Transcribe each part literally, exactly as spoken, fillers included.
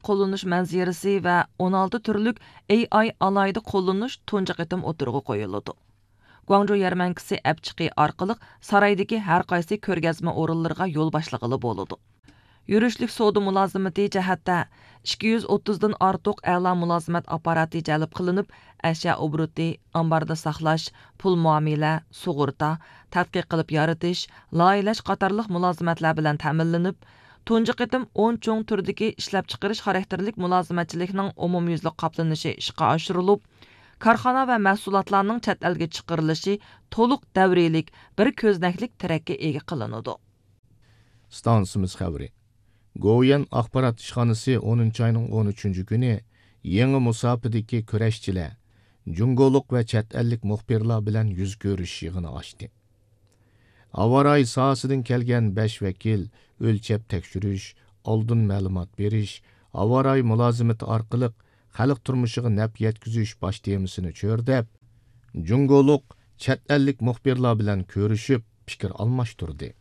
قوللىنىش مەنزىرىسى ۋە ئون ئالتە تۈرلۈك ئېي ئاي ئالاھىدە قوللىنىش تۇنجى قېتىم ئوتتۇرىغا قويۇلىدۇ. گۇاڭجۇ يەرمەنكىسى ئەپچىقى ئارقىلىق سارايدىكى ھەر قايسى كۆرگەزمە ئورۇنلىرىغا يول باشلىغىلى بولىدۇ. يۈرۈشلۈك سودا مۇلازىمىتى جەھەتتە ئىككى يۈز ئوتتۇزدىن ئارتۇق ئەلا مۇلازىمەت ئاپپاراتى جەلپ قىلىنىپ، ئەشيا ئوبوروتى، ئامباردا ساقلاش، پۇل مۇئامىلە، سۇغۇرتا، تەتقىق قىلىپ يارىتىش، لايىھەلەش قاتارلىق مۇلازىمەتلەر بىلەن تەمىنلىنىپ، تۇنجى قېتىم ئون چوڭ تۈردىكى ئىشلەپچىقىرىش خاراكتېرلىك مۇلازىمەتچىلىكنىڭ ئومۇميۈزلۈك قاپلىنىشى ئىشقا ئاشۇرۇلۇپ، كارخانا ۋە مەھسۇلاتلارنىڭ چەت ئەلگە چىقىرىلىشى تولۇق دەۋرىيلىك، بىر كۆزنەكلىك تىرەككە ئىگە قىلىنىدۇ. ئىستانسىمىز خەۋىرى. گوۋۇيۈەن ئاخبارات ئىشخانىسى ئونىنچى ئاينىڭ ئون ئۈچىنچى كۈنى يېڭى مۇساپىدىكى كۈرەشچىلەر، جۇڭگولۇق ۋە چەت ئەللىك مۇخبىرلار بىلەن يۈز كۆرۈشۈش يىغىنى ئاچتى. ھاۋا رايى ساھەسىدىن كەلگەن بەش ۋەكىل ئۆلچەپ تەكشۈرۈش، ئالدىن مەلۇمات بېرىش، ھاۋا رايى مۇلازىمىتى ئارقىلىق خەلق تۇرمۇشىغا نەپ يەتكۈزۈش باش تېمىسىنى چۆرىدەپ، جۇڭگولۇق، چەت ئەللىك مۇخبىرلار بىلەن كۆرۈشۈپ، پىكىر ئالماشتۇردى.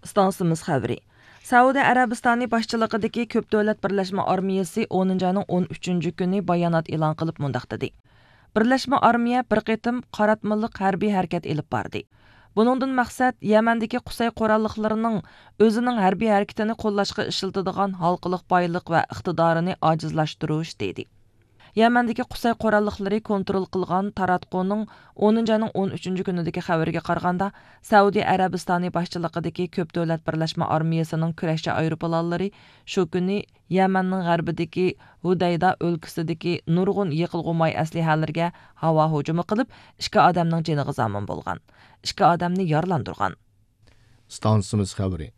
ئىستانسىمىز خەۋىرى. سەئۇدى ئەرەبىستانى باشچىلىقىدىكى كۆپ دۆلەت بىرلەشمە ئارمىيەسى ئونىنچى ئاينىڭ ئون ئۈچىنچى كۈنى بايانات ئېلان قىلىپ مۇنداق دېدى: بىرلەشمە ئارمىيە بىر قېتىم قاراتمىلىق ھەربىي ھەرىكەت ئېلىپ باردى. بۇنىڭدىن مەقسەت يەمەندىكى قۇسەي قوراللىقلىرىنىڭ ئۆزىنىڭ ھەربىي ھەرىكىتىنى قوللاشقا ئىشلىتىدىغان ھالقىلىق بايلىق ۋە ئىقتىدارىنى ئاجىزلاشتۇرۇش، دېدى. يەمەندىكى قۇسەي قوراللىقلىرى كونترول قىلغان تاراتقۇنىڭ ئونىنچى ئاينىڭ ئون ئۈچىنچى كۈنىدىكى خەۋىرىگە قارىغاندا، سەئۇدى ئەرەبىستانى باشچىلىقىدىكى كۆپ دۆلەت بىرلەشمە ئارمىيەسىنىڭ كۈرەشچى ئايروپىلانلىرى شۇ كۈنى يەمەننىڭ غەربىدىكى ھۇدەيدا ئۆلكىسىدىكى نۇرغۇن يېقىلغۇ ماي ئەسلىھەلىرىگە ھاۋا ھۇجۇمى قىلىپ، ئىككى ئادەمنىڭ جېنىغا زامىن بولغان، ئىككى ئادەمنى يارىلاندۇرغان. ئىستانسىمىز خەۋىرى.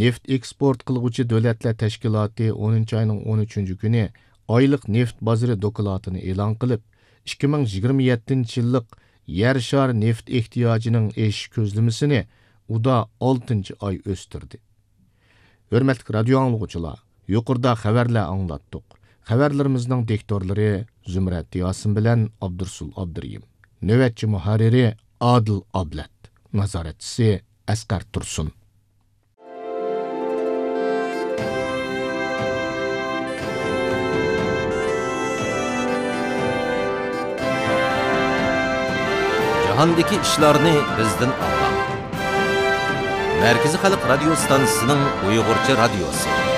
نېفىت ئېكسپورت قىلغۇچى دۆلەتلەر تەشكىلاتى ئونىنچى ئاينىڭ ئون ئۈچىنچى كۈنى ئايلىق نېفىت بازىرى دوكلاتىنى ئېلان قىلىپ، ئىككى مىڭ يىگىرمە يەتتىنچى يىللىق يەر شارى نېفىت ئېھتىياجىنىڭ ئېشىش كۆزلىمىسىنى ئۇدا ئالتىنچى ئاي ئۆستۈردى. ھۆرمەتلىك رادىيو ئاڭلىغۇچىلار، يۇقىرىدا خەۋەرلەر ئاڭلاتتۇق. خەۋەرلىرىمىزنىڭ دىكتورلىرى زۇمرەت ياسىن بىلەن ئابدۇرۇسۇل ئابدۇرېھىم. نۆۋەتچى مۇھەررىرى ئادىل ئابلەت. نازارەتچىسى ئەسقەر تۇرسۇن. جاھاندىكى ئىشلارنى بىزدىن ئاڭلاڭ. مەركىزىي خەلق رادىيو ستانسىسىنىڭ ئۇيغۇرچە رادىيوسى.